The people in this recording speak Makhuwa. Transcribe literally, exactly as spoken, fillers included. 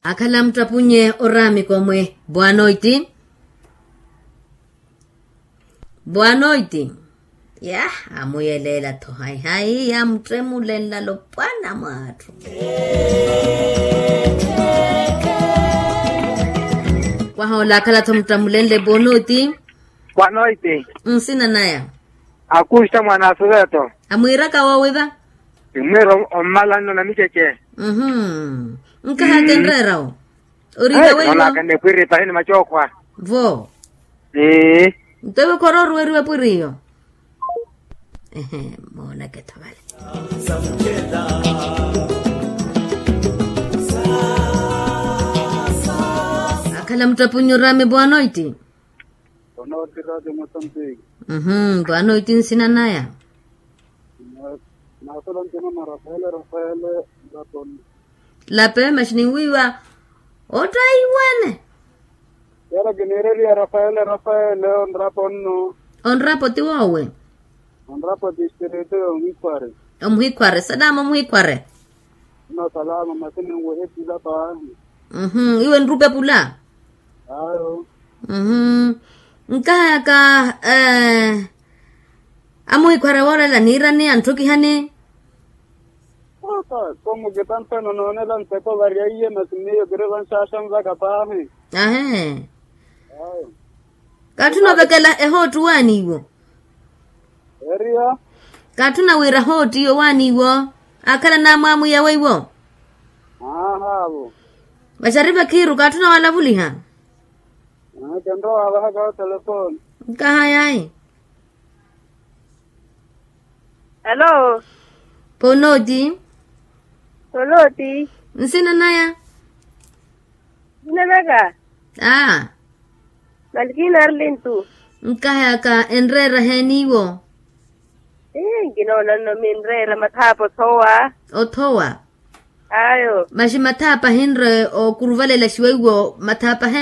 Akhala muttrapunye oraamiko mwe bwanoiti. Bwanoiti. Yah, amuyeleela-tho hayi-hayi yaamuttemulenla lopwana mw'atthu. Kwahoola akhala-tho muttamulenle bwanoiti. Bwanoiti. Nsina naya. Akusta mwana asuveto. Amwiiraka woowiva. Imwiira ommalanno na miceche. Nkahaka enreera wo. Oriiwa weiwo. Nonaka nepwiri pahini macokhwa. Vo. Nto iwe khorooriweriwa epwiri iyo. Ehe. Mooneke tho vale. Akhala muttapunye oraame bwanoiti. Bwanoiti raati mosambiki. Bwanoiti nsina naya. Nasola ntino na rafaele rafaele. Lape masi ninwiiwa. Ottaiwene. Yala kiniireriya rafaele rafaele onrapo nno. Onrapo ti woowe. Onrapo ti espirito yomuhikhware. Omuhikhware salama omuhikhware. Nno salama masi ninwehe pula paahi. Iwe nrupe pula. Ayo. Nkahaka amuhikhware woorela niirani antthukihani. Aka komukitanthano noonela nteko varya iye masi miyo kiri vanxaxanvaka paahi. Ahe. Kaatthuna ovekela ehootti waaniiwo. Eriya. Kaatthuna wira hootti iyo waaniiwo. Akhala naamwamwiya weiwo. Aahaavo. Vaxari vakhiiru kaatthuna walavuliha. Kenrowa wavahaka otelefoni. Nkahayayi. Alo. Ponoti. Ponoti. Nsina naya. Nsina naka. Aa. Malkina arlintu. Nkahayaka enreera heeniiwo. Ii nkinoona nno minreera mathaapa othowa. Othowa. Ayo. Maxi mathaapa ahinre okuruvaleelaxiwa iwo mathaapa ahe.